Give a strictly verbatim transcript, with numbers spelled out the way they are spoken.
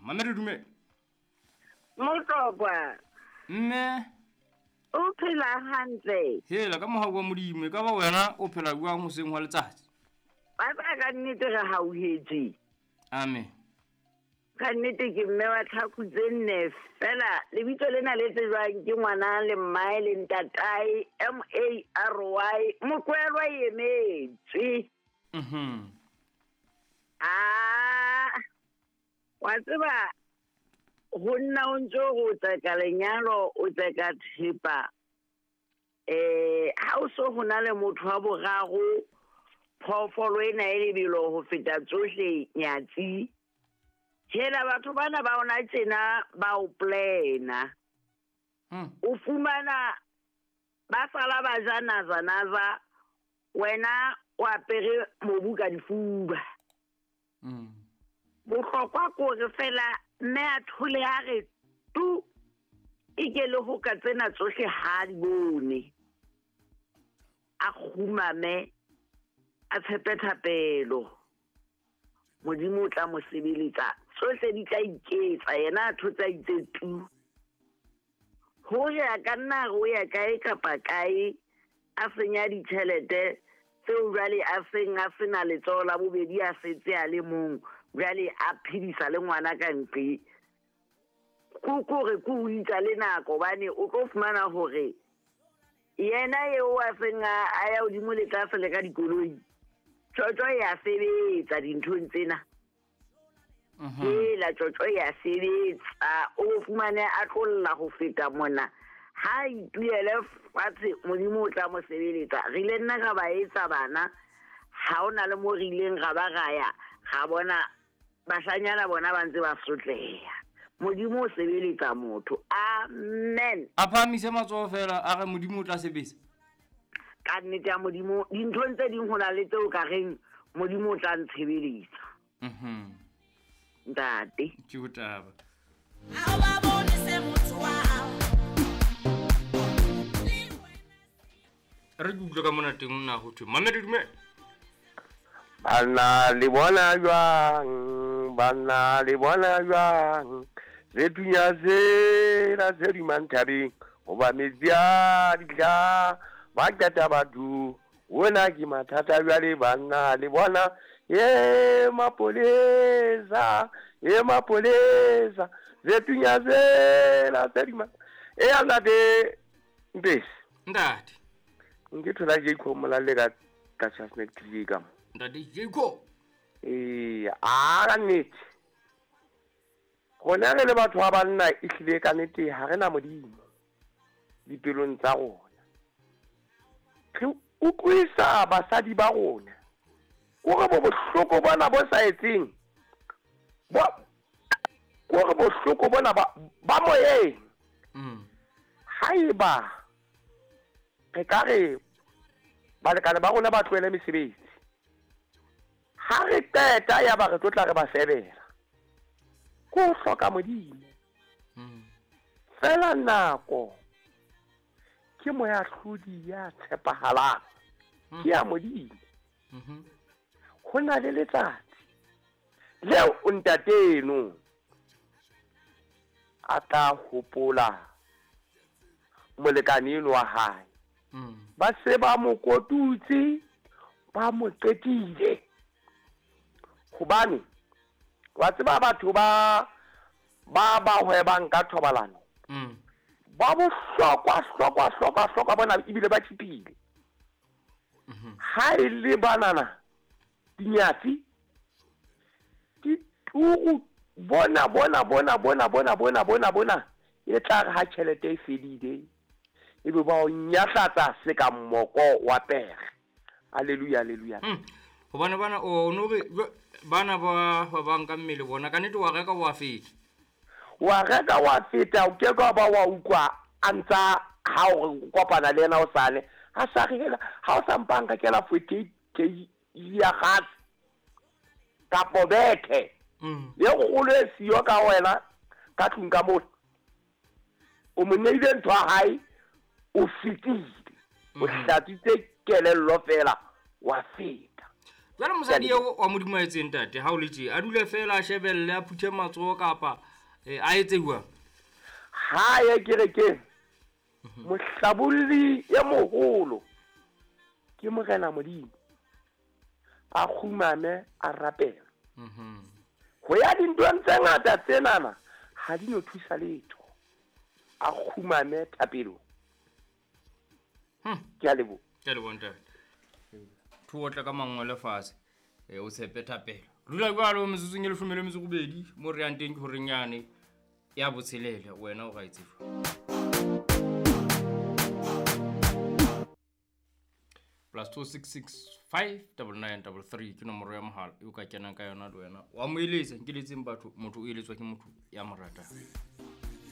Mamedi dumela. Motlokwa. Mme o phela hantle. Hela ka mohau wa Modimo e ka ba wena o phela jwang hoseng hwa letsatsi? Ba ba ka nnete re hauhetse. Amen. Ka nnete ke mme wa tlhaku tse nne fela lebitso lena le tsejwang ke ngwana le mmae le ntatae M A R Y Mokwelwa emetswe. Mhm. Ah, wa tseba ho nna o ntso go tseka lenyalo o tseka thepa eh ha o so ho na le motho wa boraro phoofolo ena e lebelo ho feta tsohle nyatsi. Hela batho bana ba ona tsena ba o plana. Mm. O fumana ba sala ba ja naza naza wena o apere mobu ka difuba. Mm. Bohlokwa kore fela mme a thole a re tu e ke le ho ka tsena tsohle ha di bone. A kgumame a tshepe thapelo. Modimo o tla mo sebeletsa tsohle di tla iketsa yena a thotsa itse tu. Hore a ka nna re o ya kae kapa kae a senya ditjhelete tseo jwale a seng a sena letsoho la bobedi a setse a le mong jwale a phedisa le ngwana ka ntle. Ko kore ko o itsa le nako hobane o tlo fumana hore yena eo a seng a ya hodimo le tlase le ka dikoloi tjotjo ya sebetsa dinthong tsena. Mhm. Hela tjotjo ya sebetsa o fumane a tlolla ho feta mona. Ha ituele fatshe Modimo o tla mo sebeletsa. Re ile nna ra ba etsa bana ha ona le mo re ileng ra ba ra ya ra bona bashanyana bona ba ntse ba sotleha. Modimo o sebeletsa motho. Amen. A phahamise matsoho fela a re Modimo o tla sebetsa. Ka nnete ya Modimo dinthong tse ding ho na le tseo ka reng Modimo o tla ntshebeletsa. Mhm. Ntate. Ke ho taba. Ha ba bone se motho wa hao. Re ke utlwe ka mona teng nna ho thwe Mamedi dumela. Banna le bona jwang, banna le bona jwang, le tunya tsela tse dumang thabeng, hoba metsi a ditla ba qeta batho. Ona ke mathata jwale banna le bona e mapolesa e mapolesa le tunya tsela tse dumang. E ya ntate Mpesi. Ntate. Nke thola Jacob Molalle ka ka Chasnet T V ka mo. Ntate Jacob. Eh, a ka nnete. Rona re le batho ba banna e hlile ka nnete ha re na Modimo dipelong tsa rona. Re utlwisa basadi ba rona. Kore bo bohloko bona bo sa etseng. Bo kore bohloko bona ba ba moyeng. Mm. Haeba re ka re balekane ba rona ba tlohele mesebetsi. Ha re qeta ya ba re tlo tla re ba sebela. Ko hloka Modimo. Mm. Fela nako ke moyahlodi ya tshepahalang. Mm. Ke ya Modimo. Mhm. Ho na le letsatsi leo o ntateno a tla hopola molekane eno wa hae. Mm. Ba se ba mo kotutse, ba mo qetile. Hobane wa tseba batho ba ba ba hwebang ka thobalano. Mm. Ba bohlokwa hlokwa hlokwa hlokwa bona ebile ba tshipile. Mhm. Ha e le banana dinyatsi di turu bona bona bona bona bona bona bona bona e tla re ha tjhelete e fedile e be ba o nyahlatsa se ka mmoko wa pere. Haleluya, haleluya. Mm. Hobane bana o no re bana ba ba banka mmele bona ka nnete wa reka wa feta. Wa reka wa feta o ke ka ba wa utlwa a ntsa ha o kopana le yena o sale ha sa rela ha o sa mpanka ke la forty-eight K ya gas kapo bethe. Mm. Le kgolo e siyo ka wena ka tlung ka mona. O mo neile ntho ya hae o fetile. O Mm. hlatsitse kelello fela wa feta. Jwale mosadi eo wa Modimo a etseng ntate ha o le tje, a dule fela a shebelle a phuthe matsoho kapa eh, a etse jwang? Ha ye kerekeng, mohlabolli e moholo ke Morena Modimo, a kgumame a rapela. Mhm. Ho ya dintweng tse ngata tsenana ha di no thusa letho, a kgumame thapelong. Hmm. Ke a leboha. Ke a leboha ntate. Thu otla ka mangwele fatshe, eh, o tshepe thapelo. Dula jwalo metsotsong e leshome le metso e robedi, mo re yang teng ke horeng yane ya botshelela, wena o ra e tseba. Plus two six six five double nine double three ke nomoro ya mohala e o ka kenang ka yona le wena. Wa mo eletsa, nkeletseng batho, motho o eletswa ke motho ya mo ratang.